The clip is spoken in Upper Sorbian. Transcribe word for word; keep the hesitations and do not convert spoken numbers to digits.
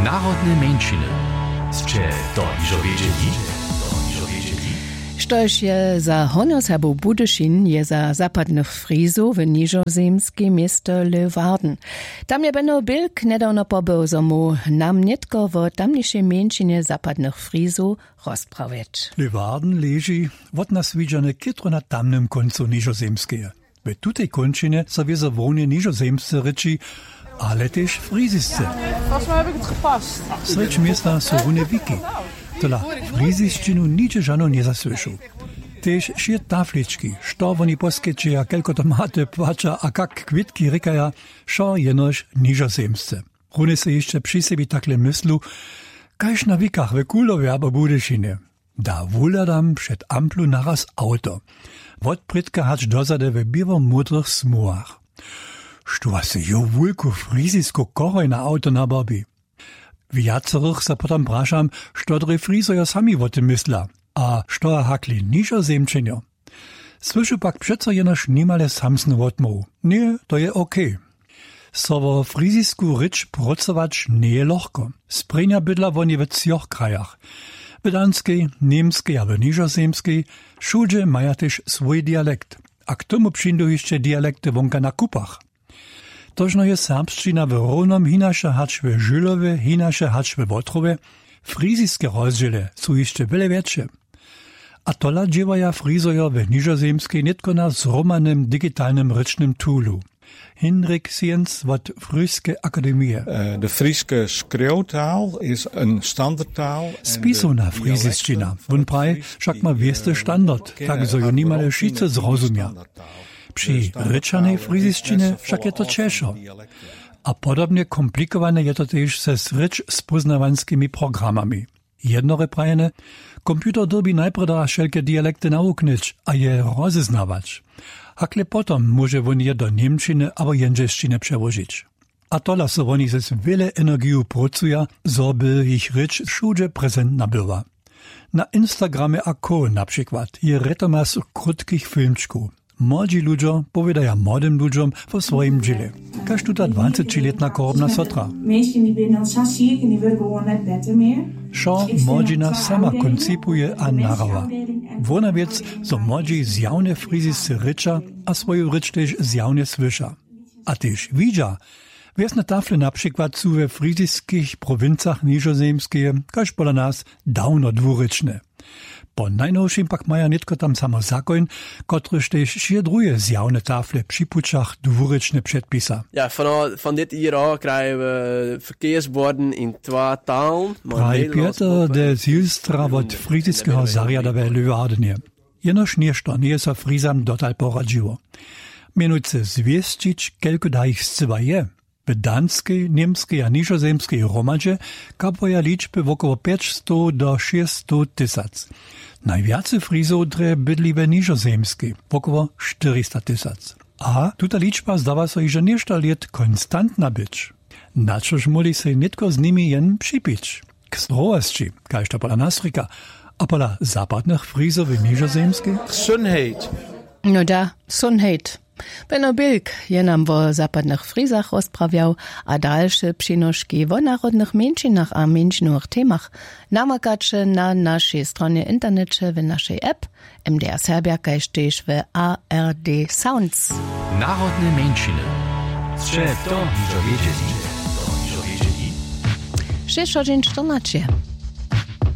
Narodne mjeńšiny. Sće to hižo wědźeli? Štož je za Hornjoserbow Budyšin, je za zapadnych Frizow w Nižozemskej město Leeuwarden. Tam je Benno Bilk njedawno pobył, zo móhł nam nětko wo tamnišej mjeńšinje zapadnych Frizow rozprawjeć. Leeuwarden leži wot nas widźane chětro na tamnym kóncu Nižozemskeje. W tutej kónčinje so wězo hłowne nižozemsce rěči, ale tež frizisce. Srjedź města su runje wiki. Tola frizisćinu nihdźe žano njezasłyšu. Tež wšě taflički, što woni poskečeja, kelko tomaty płaća a kak kwětki rěkaja, wšo jenož nižozemsce. Runje sej hišće při sebi takle myslu, kaž na wikach w Kuhlowje abo Budyšinje. Da wuhladam před amplu naraz awto. Wotprědka hač dozady w běło-módrych smuhach. Štó was jo wulku frizisku chorhoj na awto nabarbi? Wjacerych se potom prašam, što drje Frizojo sami wo tym mysla a što hakle nižozemčenjo. Słyšu pak přeco jenož nimale samsnu wotmołwu. Ně, to je ok. So wo frizisku rěč prócować njeje lochko. Sprěnja bydla woni w třoch krajach. W Danskej, Němskej a w Nižozemskej, wšudźe maja tež swój dialekt. A k tomu přińdu hišće dialekty wonka na kupach. Tožno je serbšćina w Rownom hinaša hač w Žylowje, hinaše hač we Wotrowje, friziske rozdźěle su hišće wjele wjetše. A tola dźěłaja Frizojo w Nižozemskej nětko na zhromadnym digitalnym rěčnym toolu. Hinrik Siens wot Fryske akademije. Eh, de Friske skriuwtaal is een standardtaal. Spisowna frizisćina, wón praji, wšak ma wěsty standard, tak zo ju nimale wšitcy zrozumja. Při rěčanej frizisćinje wšak je to ćežšo. A podobnje komplikowane je to tež ze srěč spóznawanskimi programami. Jednorje prajene, komputer dyrbi najprjeda wšelke dialekty nawuknyć a je rozeznawać. Hakle potom móže wón je do němčiny abo jendźelšćiny přełožić. A tola so woni z wjele energiju prócuja, zo by jich rěč wšudźe prezentna była. Na Instagramje a co na přikład je rjetomas krótkich filmčkow. Młodźi ludźo powědaja młodym ludźom wo swojim dźěle. Kaž tuta dwacećilětna chorobna sotra. Wšo młodźina sama koncipuje a nahrawa. Wona wěc, zo młodźi zjawne frizisce rěča a swoju rěč tež zjawne słyša. A tež widźa. Wjesne tafle na přikład su we friziskich prowincach Nižozemskeje, kaž pola nas, dawno dwurěčne. Po najnowšim pak maja nětko tam samo zakoń, kotryž tež wšě druhe zjawne tafle při pućach dwurěčne předpisa. Ja, von, von dit Jahr auch krijgen wir Verkehrsborden in zwei Talen. Praji Pjeter de Zilstra wot friziskeho zarjada we Lüwardenje. Jenož něšto njeje so frizam dotal poradźiło. Mjenujcy zwěsćić, kelko da jich scyła je. W Danskej, Němskej a Nižozemskej hromadźe kapuja ličby wokoło pjećstow do šěsćstow tysac. Najwjace Frizow drje bydli we Nižozemskej, wokoło štyrista tysac. A tuta ličba zdawa so hižo něšto lět konstantna być. Na čož móhli sej nětko z nimi jen připić? K zdrowosći, kaž to pola nas rěka, a pola zapadnych Frizow w Nižozemskej? Sunheit. No da, Sunheit. Benno Bilk je nam wo zapadnych Frizach rozprawjał a dalše přinoški wo narodnych mjeńšinach a mjeńšinowych temach namakaće na našej stronje w interneće, w našej app M D R Serbja kaž tež w A R D Sounds. Narodne mjeńšiny. Sće to hižo wědźeli? Šěsć hodźin čtrnaće.